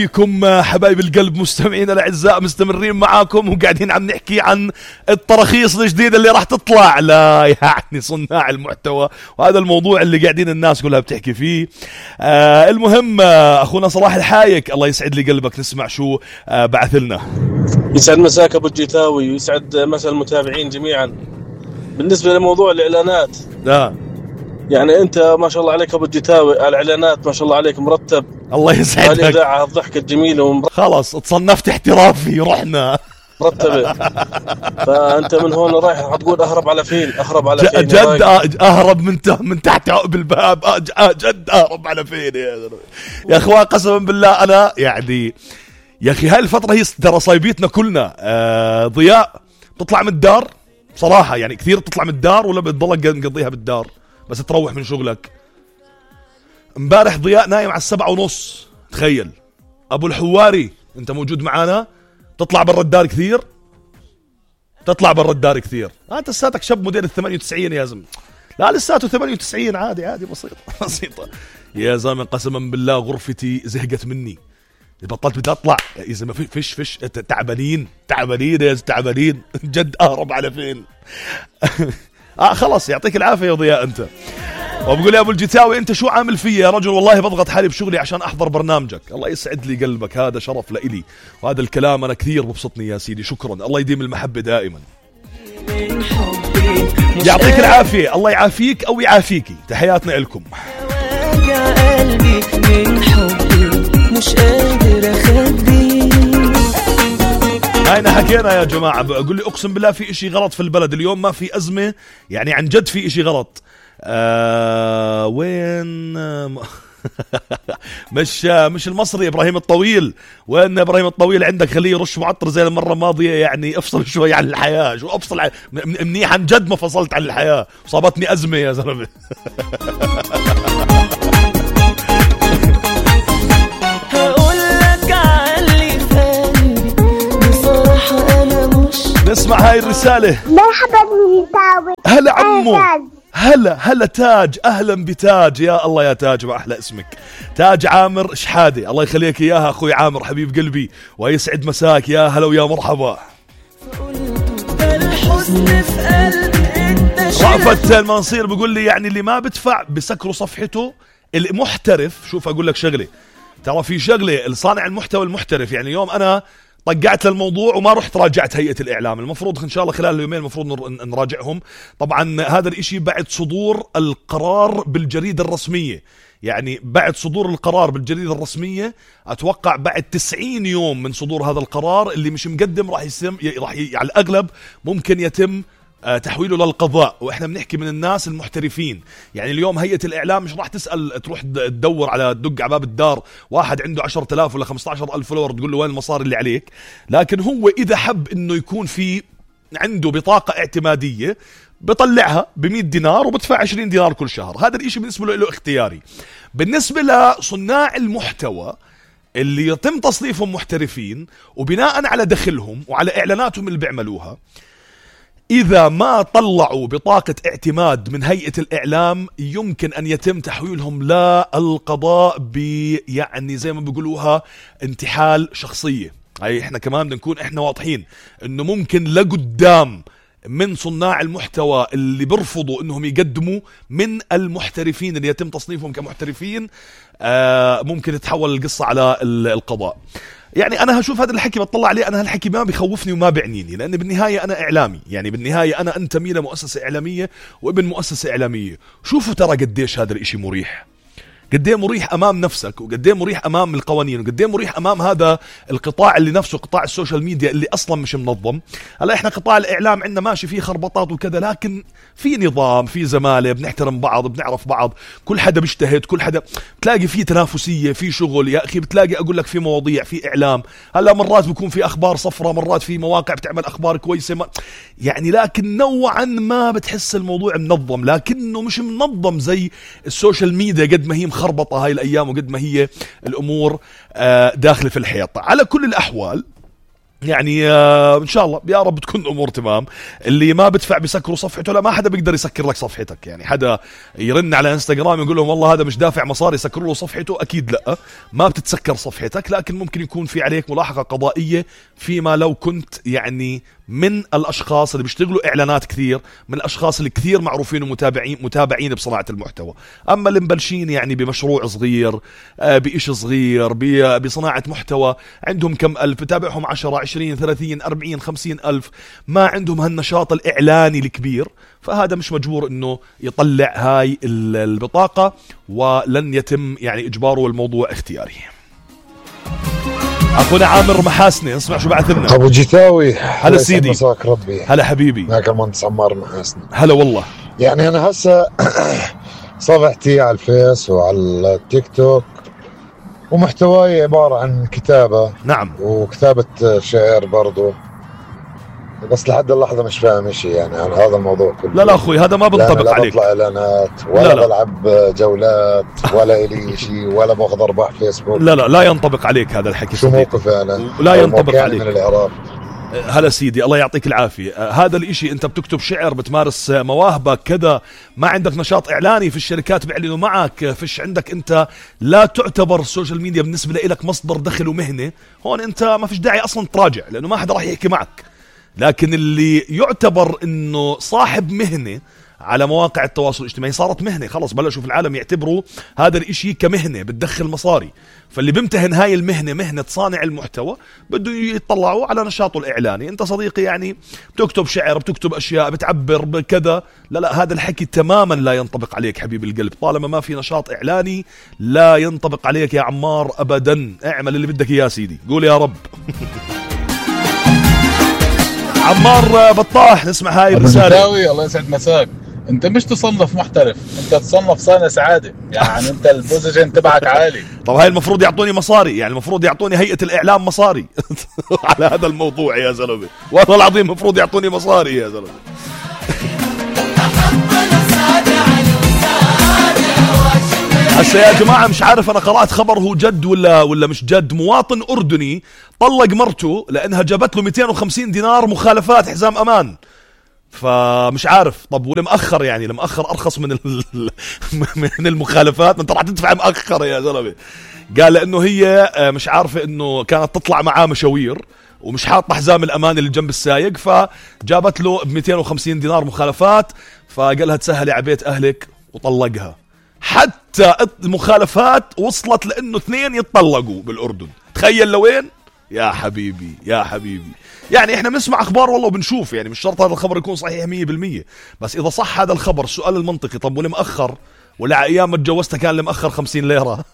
فيكم حبايب القلب مستمعين الاعزاء، مستمرين معاكم وقاعدين عم نحكي عن التراخيص الجديده اللي راح تطلع لا يعني صناع المحتوى، وهذا الموضوع اللي قاعدين الناس كلها بتحكي فيه. المهم اخونا صلاح الحايك الله يسعد لي قلبك، نسمع شو بعث لنا. يسعد مساك ابو الجيتاوي ويسعد مساء المتابعين جميعا. بالنسبه لموضوع الاعلانات يعني انت ما شاء الله عليك ابو الجيتاوي، الاعلانات ما شاء الله عليك مرتب، الله يسعدك. الاذاعه الضحكه الجميله خلاص تصنفت احترافي رحنا مرتبه. فانت من هون رايح حتقول اهرب على فين؟ اهرب على فين؟ جد اهرب من تحت عقب الباب. جد اهرب على فين يا اخوان؟ قسما بالله انا يعني يا اخي هاي الفتره هي ترى صايبيتنا كلنا. ضياء تطلع من الدار صراحه، يعني كثير تطلع من الدار ولا بتضلك مقضيها بالدار بس تروح من شغلك. امبارح ضياء نايم على 7:30، تخيل. ابو الحواري انت موجود معانا، تطلع برا الدار كثير، تطلع برا الدار كثير. انت لساتك شاب موديل 98 يا زلمه. لا لساته 98 عادي بسيطه يا زلمه. قسما بالله غرفتي زهقت مني، بطلت بدي اطلع يا زلمه. فيش تعبانين يا تعبانين جد. اهرب على فين؟ خلاص يعطيك العافيه يا ضياء انت. وبقول يا ابو الجيتاوي انت شو عامل فيا يا رجل؟ والله بضغط حالي بشغلي عشان احضر برنامجك. الله يسعد لي قلبك، هذا شرف لإلي، وهذا الكلام انا كثير ببسطني يا سيدي. شكرا، الله يديم المحبه دائما. يعطيك العافيه، الله يعافيك او يعافيكي. تحياتنا لكم. مش قادر اخبي. هاينا حكينا يا جماعة. بقول لي اقسم بالله في اشي غلط في البلد اليوم، ما في ازمة يعني عن جد في اشي غلط. وين مش المصري ابراهيم الطويل. وين ابراهيم الطويل عندك؟ خليه يرش معطر زي المرة الماضية. يعني افصل شوي عن الحياة. شو افصل منيح عن جد ما فصلت عن الحياة، صابتني ازمة يا زلمة. نسمع هاي الرسالة. مرحبا بالجيتاوي. هلا عمو. هلا تاج. اهلا بتاج. يا الله يا تاج، ما احلى اسمك. تاج عامر شحادة، الله يخليك اياها اخوي عامر حبيب قلبي، ويسعد مساك. يا هلا ويا مرحبا. رأفت المنصير بيقول لي يعني اللي ما بدفع بسكروا صفحته. المحترف، شوف اقول لك شغله، ترى في شغله الصانع المحتوى المحترف. يعني يوم انا طقعت للموضوع وما رحت راجعت هيئة الإعلام. المفروض إن شاء الله خلال اليومين المفروض نراجعهم. طبعا هذا الإشي بعد صدور القرار بالجريدة الرسمية، يعني بعد صدور القرار بالجريدة الرسمية أتوقع بعد 90 يوم من صدور هذا القرار اللي مش مقدم راح على الأغلب ممكن يتم تحويله للقضاء. واحنا بنحكي من الناس المحترفين. يعني اليوم هيئة الإعلام مش راح تسأل تروح تدور على دق على باب الدار واحد عنده 10,000 ولا 15,000 فولور تقول له وين المصاري اللي عليك. لكن هو إذا حب إنه يكون في عنده بطاقة اعتمادية بطلعها ب100 دينار وبدفع 20 دينار كل شهر. هذا الإشي بالنسبة له اختياري. بالنسبة لصناع المحتوى اللي يتم تصنيفهم محترفين وبناء على دخلهم وعلى إعلاناتهم اللي بيعملوها، إذا ما طلعوا بطاقة اعتماد من هيئة الإعلام يمكن أن يتم تحويلهم للقضاء يعني زي ما بيقولوها انتحال شخصية. هاي إحنا كمان بدنا نكون إحنا واضحين إنه ممكن لقدام من صناع المحتوى اللي بيرفضوا إنهم يقدموا من المحترفين اللي يتم تصنيفهم كمحترفين ممكن تتحول القصة على القضاء. يعني أنا هشوف هذا الحكي بطلع عليه، أنا هالحكي ما بيخوفني وما بعنيني، لأن بالنهاية أنا إعلامي. يعني بالنهاية أنا أنتمي لمؤسسة إعلامية وابن مؤسسة إعلامية. شوفوا ترى قديش هذا الإشي مريح، قديه مريح أمام نفسك، وقديه مريح أمام القوانين، وقديه مريح أمام هذا القطاع اللي نفسه قطاع السوشيال ميديا اللي أصلا مش منظم. هلا إحنا قطاع الإعلام عندنا ماشي فيه خربطات وكذا، لكن في نظام، في زمالة، بنحترم بعض، بنعرف بعض، كل حدا بيجتهد، كل حدا بتلاقي فيه تنافسية، في شغل يا أخي، بتلاقي أقول لك في مواضيع، في إعلام. هلا مرات بيكون في أخبار صفرة، مرات في مواقع بتعمل أخبار كويسة يعني لكن نوعا ما بتحس الموضوع منظم، لكنه مش منظم زي السوشيال ميديا قد ما هي مخربطة هاي الأيام وقد ما هي الأمور داخل في الحيط. على كل الأحوال يعني ان شاء الله يا رب تكون الامور تمام. اللي ما بدفع بسكروا صفحته، لا ما حدا بيقدر يسكر لك صفحتك. يعني حدا يرن على انستغرام يقول لهم والله هذا مش دافع مصاري سكروا له صفحته، اكيد لا، ما بتتسكر صفحتك. لكن ممكن يكون في عليك ملاحقة قضائية فيما لو كنت يعني من الاشخاص اللي بيشتغلوا اعلانات كثير، من الاشخاص اللي كثير معروفين ومتابعين بصناعة المحتوى. اما اللي مبلشين يعني بمشروع صغير، بإشي صغير، بصناعة محتوى، عندهم كم ألف بتابعهم 10 20 30 40 50 ألف، ما عندهم هالنشاط الإعلاني الكبير، فهذا مش مجبور انه يطلع هاي البطاقة، ولن يتم يعني اجباره الموضوع اختياري. اخونا عامر محاسني، اسمع شو بعث لنا. ابو جيتاوي، هلا سيدي. مساك ربي. هلا حبيبي. معك المهندس عمار محاسني. هلا والله. يعني انا هسه صفحتي على الفيس وعلى التيك توك ومحتواي عبارة عن كتابة. نعم. وكتابة شعر برضو، بس لحد اللحظة مش فاهم شيء يعني عن هذا الموضوع كله. لا اخوي هذا ما بنطبق عليك. لا بطلع اعلانات ولا بلعب جولات ولا الي شيء ولا باخذ ارباح فيسبوك. لا ينطبق عليك هذا الحكي. شو موقفي انا؟ لا ينطبق عليك. من العراق. هلا سيدي الله يعطيك العافية. هذا الاشي انت بتكتب شعر، بتمارس مواهبك كذا، ما عندك نشاط اعلاني، في الشركات بيعلنوا معك، فيش عندك انت، لا تعتبر السوشيال ميديا بالنسبة لك مصدر دخل ومهنة، هون انت ما فيش داعي اصلا تراجع لانه ما حدا راح يحكي معك. لكن اللي يعتبر انه صاحب مهنة على مواقع التواصل الاجتماعي، صارت مهنة خلص، بلشوا في العالم يعتبروا هذا الاشي كمهنة بتدخل مصاري. فاللي بيمتهن هاي المهنة، مهنة صانع المحتوى، بده يطلعوا على نشاطه الإعلاني. انت صديقي يعني بتكتب شعر، بتكتب أشياء، بتعبر بكذا، لا هذا الحكي تماما لا ينطبق عليك حبيب القلب. طالما ما في نشاط إعلاني لا ينطبق عليك يا عمار أبدا. اعمل اللي بدك إياه سيدي، قول يا رب. عمار بطاح، نسمع هاي الرسالة. الله يسعد مساك. انت مش تصنف محترف، انت تصنف صانع سعادة. يعني انت البوزيشن تبعك عالي. طب هاي المفروض يعطوني مصاري، يعني المفروض يعطوني هيئة الإعلام مصاري على هذا الموضوع يا زلمة، والله العظيم المفروض يعطوني مصاري يا زلمة. هسه يا جماعة مش عارف، أنا قرأت خبر هو جد ولا مش جد. مواطن أردني طلق مرته لأنها جابت له 250 دينار مخالفات حزام أمان. فمش عارف، طب والمأخر يعني المأخر أرخص من من المخالفات، انت راح تدفع مأخر يا زلمة. قال لأنه هي مش عارفة إنه كانت تطلع معاه مشاوير ومش حاطة حزام الأمان اللي جنب السايق، فجابت له ب 250 دينار مخالفات، فقالها تسهلي على بيت أهلك وطلقها. حتى المخالفات وصلت لأنه 2 يتطلقوا بالأردن. تخيل لوين يا حبيبي يا حبيبي. يعني احنا بنسمع اخبار والله وبنشوف، يعني مش شرط هذا الخبر يكون صحيح 100%، بس اذا صح هذا الخبر السؤال المنطقي، طب والمأخر؟ ولا ايام ما تجوزتها كان المأخر 50 ليرة؟